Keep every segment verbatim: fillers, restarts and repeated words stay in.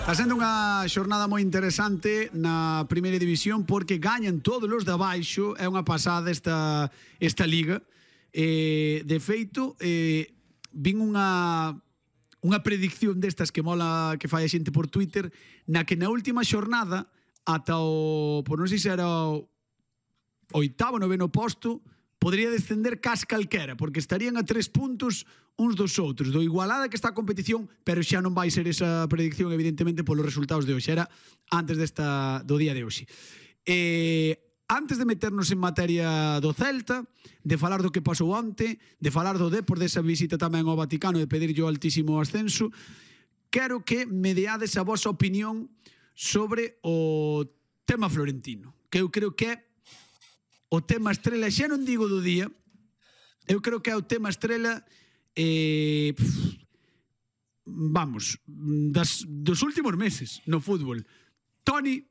Está sendo unha xornada moi interesante na primeira división porque gañan todos os de abaixo. É unha pasada esta, esta liga. Eh, de feito, eh, vin unha unha predicción destas que mola que fai a xente por Twitter, na que na última xornada ata o, por non sei se era o oitavo, noveno posto, podría descender cas calquera, porque estarían a tres puntos uns dos outros, do igualada que está a competición, pero xa non vai ser esa predicción, evidentemente, polos resultados de hoxe. Era antes desta, do día de hoxe. Eh, antes de meternos en materia do Celta, de falar do que pasou onte, de falar do Depor, desa visita tamén ao Vaticano, de pedirlle o altísimo ascenso, quero que me deades a vosa opinión sobre o tema florentino, que eu creo que é o tema estrela, xa non digo do día, eu creo que é o tema estrela eh, pff, vamos, das, dos últimos meses no fútbol. Toni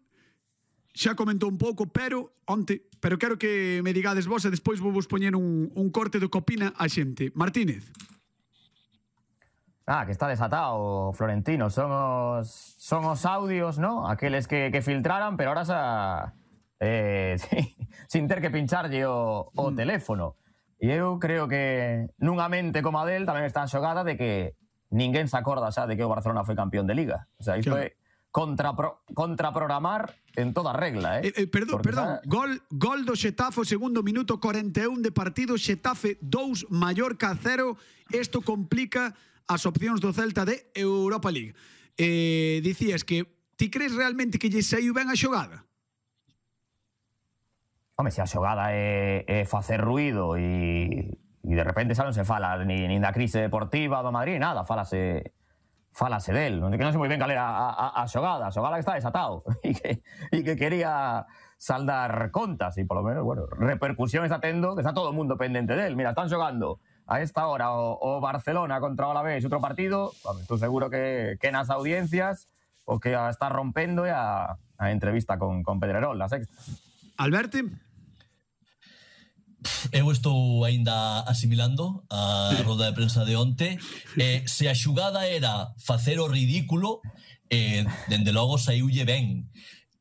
xa comentou un pouco, pero onte, pero quero que me digades vos e despois vou vos poñer un, un corte do que opina a xente. Martínez. Ah, que está desatado Florentino. Son os, son os audios, ¿no? Aqueles que, que filtraran, pero ahora xa... Eh, sí, sin ter que pincharlle o, o mm. teléfono. E eu creo que nunha mente como a del tamén está en xogada de que ninguén se acorda xa de que o Barcelona foi campeón de Liga. O sea, isto claro. é contrapro, contraprogramar en toda regla, eh? eh, eh perdón, Porque perdón. Xa... Gol, gol do Xetafe, segundo minuto, cuarenta e un de partido, Xetafe dous, Mallorca cero. Isto complica as opcións do Celta de Europa League. Eh, dicías que ti crees realmente que lle saiu ben a xogada? Home, se a xogada é, é facer ruido e, e de repente xa non se fala ni, ni da crise deportiva do Madrid, nada, falase falase del. Non, que non sei moi ben cal era a, a, a xogada, a xogada que está desatado e que, e que quería saldar contas e polo menos, bueno, repercusión está tendo, que está todo o mundo pendente del. Mira, están xogando a esta hora o, o Barcelona contra o Alavés outro partido, estou seguro que, que nas audiencias o que a está rompendo é a, a entrevista con, con Pedrerol, la Sexta. Alberto? Eu estou aínda asimilando a roda de prensa de onte. Eh, se a xugada era facer o ridículo, eh, dende logo saiulle ben.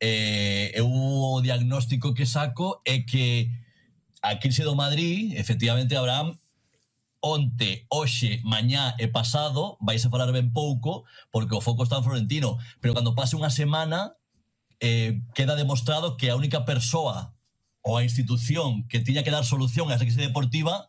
Eh, eu o diagnóstico que saco é que a crise do Madrid, efectivamente, Abraham, onte, hoxe, mañá e pasado vais a falar ben pouco porque o foco está en Florentino, pero cando pase unha semana eh, queda demostrado que a única persoa ou a institución que tiña que dar solución a esa crise deportiva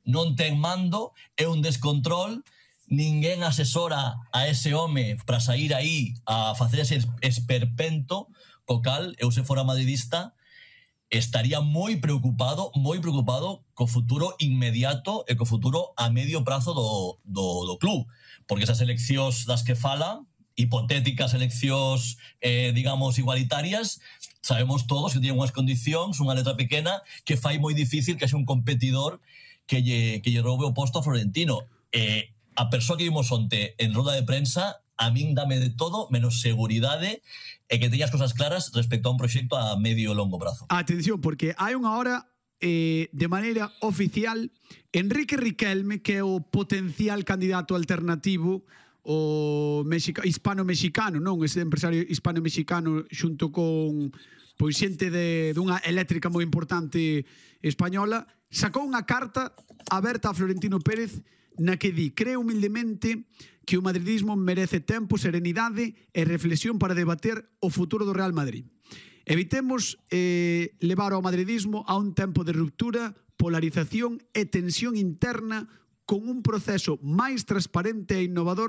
non ten mando, é un descontrol, ninguén asesora a ese home para sair aí a facer ese esperpento, co cal, eu se fora madridista, estaría moi preocupado, moi preocupado co futuro inmediato e co futuro a medio prazo do, do, do club, porque esas eleccións das que fala, hipotéticas eleccións, eh, digamos, igualitarias, sabemos todos que tienen unhas condicións, unha letra pequena, que fai moi difícil que haxa un competidor que lle, que lle roube o posto a Florentino. Eh, a persoa que vimos onte en roda de prensa, a min dame de todo, menos seguridade, e que teñas cosas claras respecto a un proxecto a medio e longo prazo. Atención, porque hai unha hora, eh, de maneira oficial, Enrique Riquelme, que é o potencial candidato alternativo, o mexica, hispano-mexicano, non? Ese empresario hispano-mexicano xunto con pois xente de dunha eléctrica moi importante española, sacou unha carta aberta a Florentino Pérez na que di: creo humildemente que o madridismo merece tempo, serenidade e reflexión para debater o futuro do Real Madrid. Evitemos eh, levar ao madridismo a un tempo de ruptura, polarización e tensión interna con un proceso máis transparente e innovador